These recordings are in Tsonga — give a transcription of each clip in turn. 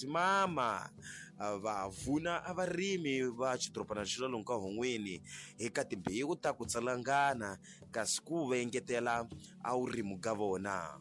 simama va vuna a varimi va xidorobana xa lomu ka Hungwini eka timbewu ta ku tsalangana kasi ku va engetela a vurimu ka vona.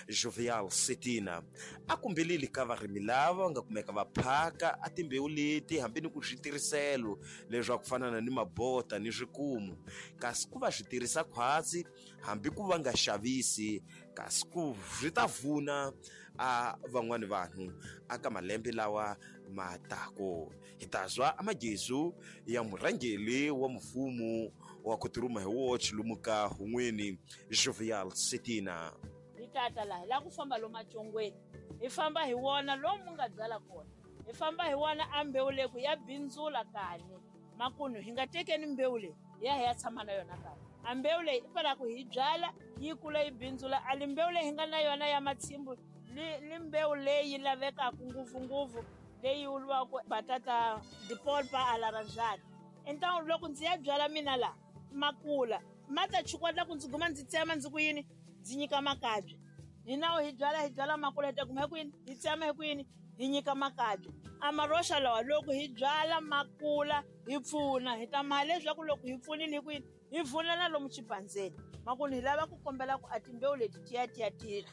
Jovial Setina a kombelile ka varimi lava va nga kumeka va phaka a timbewu leti hambi ni ku switirhiselo leswaku fana ni mabota ni swikumu kasi ku va swi tirhisa khwatsi hambi ku va nga xavisi kasi ku swi ta vuna a van'wani vanhu aka malembe lawa ma tako. Hi ta zwa amagezu ya murhangeri wa mfumo wa ku tirhuma hi woxe lomu ka Hungwini, Jovial Setina. Hi tata laha hi lava ku famba lomu macongweni, hi famba hi wona lomu nga byala kona, hi famba hi wona a mbewu leyi ku ya bindzula kani makunu hi nga tekeni mbewu leyi hi ya hi ya tshama na yona kaya. A mbewu leyi i fanele ku hi byala yi kula yi bindzula, a li mbewu leyi hi nga na yona ya matshimbu li mbewu leyi lavekaka ngopfungopfu leyi vuriwaka batata de polpa a laranjada. Então loko ndzi ya byala mina laha makula ma ta chukwatla ku ndzi guma ndzi tsema ndzi ku yini ndzi nyika makabye. Hina hi byala hi byala makula hi ta guma hi ku yini hi tsema hi ku yini hi nyika makabye. A maroxa lawa loko hi byala makula hi pfuna hi ta maha leswaku loko hi pfunile hi ku yini hi vuna na lomu xipandzeni. Makunu hi lava ku kombela ku a timbewu leti ti ya ti ya tirha,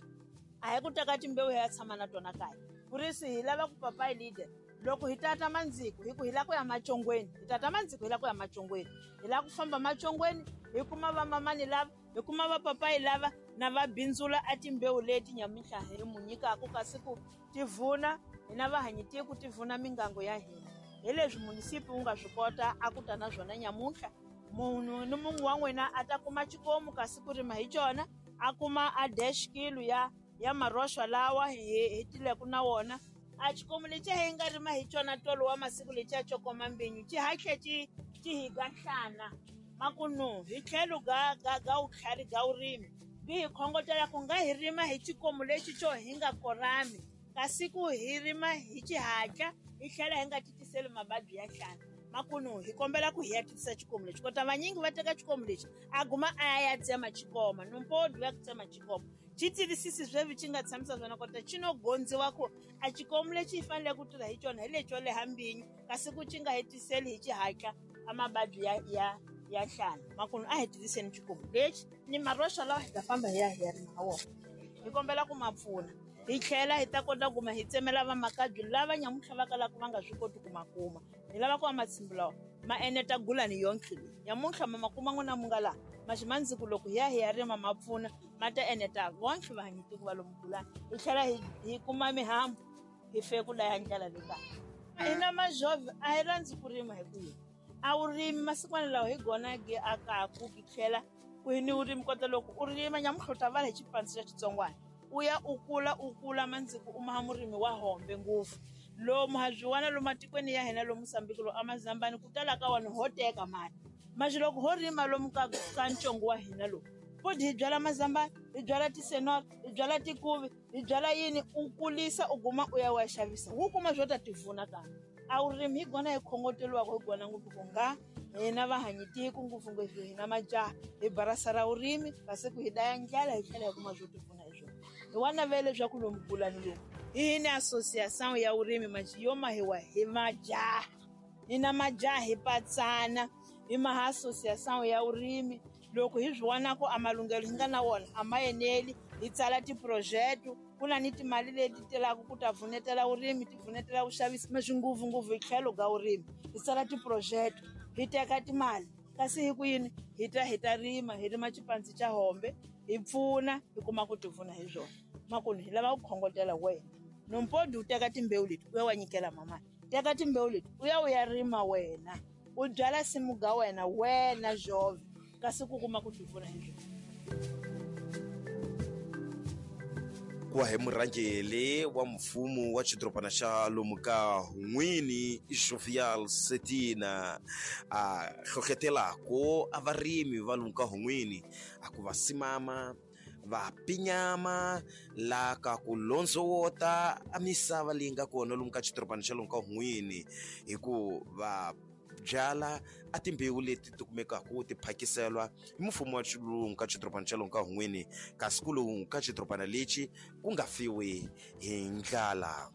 a hi ku teka timbewu hi ya tshama na tona kaya. Purisi hi lava ku papayi leader loko hi tata mandziko hi ku hi lava ku ya macongweni, hi tata mandziko hi lava ku ya macongweni, hi lava ku famba macongweni hi kuma vamamani lava, hi kuma vapapayi lava na va bindzula a timbewu leti nyamuntlha hi mu nyikaka kasi ku ti vuna hina vahanyi tiko ti vuna mingango ya hina. Hi leswi munisipi wu nga swi kota a ku ta na swona nyamuntlha, munhu ni mun'we wa n'wina a ta kuma xikomu kasi ku rima hi xona, a kuma a dash kilo ya maroxwa lawa hi tileke na wona. A xikomu lexiya hi nga rima hi xona tolo wa masiku lexiya xo koma mbinyu xi hatle xi hi ga nhlana. Makunu hi tlhelo ga vutlhari ga vurimi bi hi khongotela ku nga hi rima hi xikomu lexi xo hi nga korami, kasi ku hi rima hi xihatla hi tlhela hi nga titiseli mavabyi ya nhlana. Makunu hi kombela ku hi ya titisa xikomu lexi, kota vanyingi va teka xikomu lexi a guma a ya tsema xikoma numpodi ya ku tsema xikoma xi tivisisi sweswi xi nga tshamisa swona, kota xi no gondziwa ku a xikomu lexi hi fanele ku tirha hi xona hi lexo leha mbinyu, kasi ku xi nga hetiseli hi xihatla a mavabyi ya nhlana. Makunu a hi tiviseni xikomu lexi ni maroxa lawa hi ta famba hi ya hi ya rima ha wona, hi kombela ku ma pfuna hi tlhela hi ta kota ku ma hi tsemela vamakabye lava nyamuntlha va kalaka va nga swi koti ku ma kuma. Hi lava ku va matshimbu lawa ma eneta gulani yonke leyi nyamuntlha ma ma kuma n'wina mu nga laha maximandziku, loko hi ya hi ya rima ma pfuna ma ta eneta vonke vahanyi tiko va lomu gulani, hi tlhela hi kuma mihambu hi fe ku laya ndlela le kaya. Hina majove a hi rhandzi ku rima hi ku yini a wu rimi masikwana lawa hi gona ge akaku ki tlhela ku hi ni vurimi, kota loko u rima nyamuntlha u ta vala hi xipandzi xa xitsongwana u ya u kula u kula mandziko u maha murimi wa hombe ngopfu. Lomu ha byi wana lomu matikweni ya hina lomu Mozambique lomu amazambani ku tala ka wona ho teka mali, manje loko ho rima lomu ka ntsongo wa hina lowu futhi hi byala mazambani, hi byala tisenora, hi byala tikuvi, hi byala yini, u kulisa u guma u ya wa xavisa wu kuma swo ta tivuna kambe a wu rimi hi gona hi khongoteliwaka hi gona ngopfu ku nga hina vahanyi tiko ngopfungopfu hina majaha hi barasa ra vurimi kasi ku hi daya ndlala hi tlhela hi kuma swo tivuna hi swona. Hi wa navela leswaku lomu gulani lomu hi ni association ya vurimi manje yo mahiwa hi majaha, hina majaha hi patsana hi maha association ya vurimi. Loko hi swi vona ku a malunghelo hi nga na wona a ma eneli, hi tsala ti-project, ku na ni timali leti telaka ku ta pfunetela vurimi, ti pfunetela vuxavisi, leswi ngopfungopfu hi tlhelo ka vurimi hi tsala ti-project hi teka timali kasi hi ku yini hi ta hi ta rima hi rima xipandzi xa hombe hi pfuna hi kuma ku ti pfuna hi swona. Makunu hi lava ku khongotela wena nompodi u teka timbewu leti u ya wa nyikela mamani, teka timbewu leti u ya u ya rima wena u byala simu ga wena wena jove kasi ku kuma ku ti pfuna hi swona. Ku hi murhangeri wa mfumo wa xidorobana xa lomu ka Hungwini Jovial Setina a hlohlotelako a varimi va lomu ka Hungwini a ku va simama va pinyama la ka ku londzowota a misava leyi nga kona lomu ka xidorobana xa lomu ka Hungwini hi ku va byala a timbewu leti ti kumekaka ti phakiselwa hi mfumo wa xilungu ka xidorobana xa lomu ka Hungwini, kasi ku lowu ka xidorobana lexi ku nga fiwi hi ndlala.